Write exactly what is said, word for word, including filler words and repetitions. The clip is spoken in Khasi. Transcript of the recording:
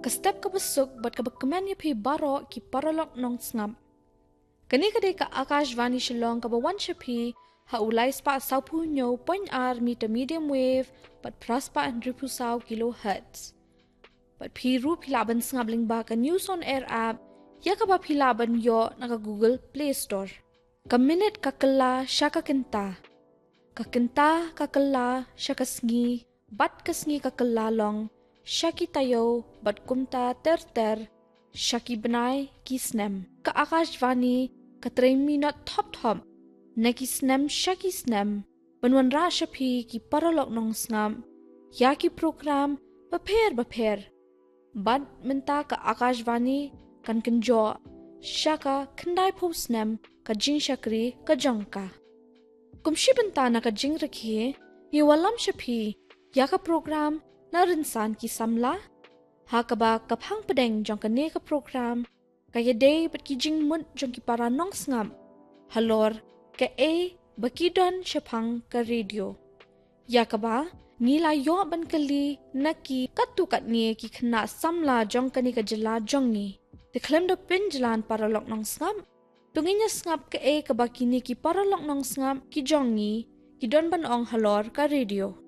Ka step kaba suk bad kaba kmen ïa phi baroh ki paralok nongsngap. Kane ka dei ka Akashvani Shillong kaba wan sha phi ha u lai spah sawphew hynñiew point ar meter medium wave bad phra spah hynriewphew saw kilohertz. Bad phi ruh phi lah ban sngap lyngba ka News on Air app, ïa kaba phi lah ban ïoh na ka Google Play Store. Ka minit ka kylla sha ka kynta. Ka kynta ka kylla sha ka sngi, bad ka sngi ka kylla long sha ki taïew, bad kumta ter ter sha ki bnai ki snem. Ka Akashvani ka trei minot thop thop na ki snem sha ki snem, ban wanrah sha phi ki paralok nongsngap ïa ki program bapher bapher. Bad mynta ka Akashvani kan kynjoh sha ka khyndaiphew snem ka jingshakri ka jong ka. Kum shi bynta na ka jingrakhe, ngi wallam sha phi ïa ka program Na Rynsan ki Samla, ha kaba ka phang pdeng jong kane ka program ka ïadei bad ki jingmut jong ki para nongsngap halor kaei ba ki don shaphang ka radio, ïa kaba ngi la ïoh ban kylli na ki katto katne ki khynnah samla jong kane ka jylla jong ngi. Te khlem da pynjlan paralok nongsngap, to ngin ïa sngap kaei kaba kine ki paralok nongsngap ki jong ngi ki don ban ong halor ka radio.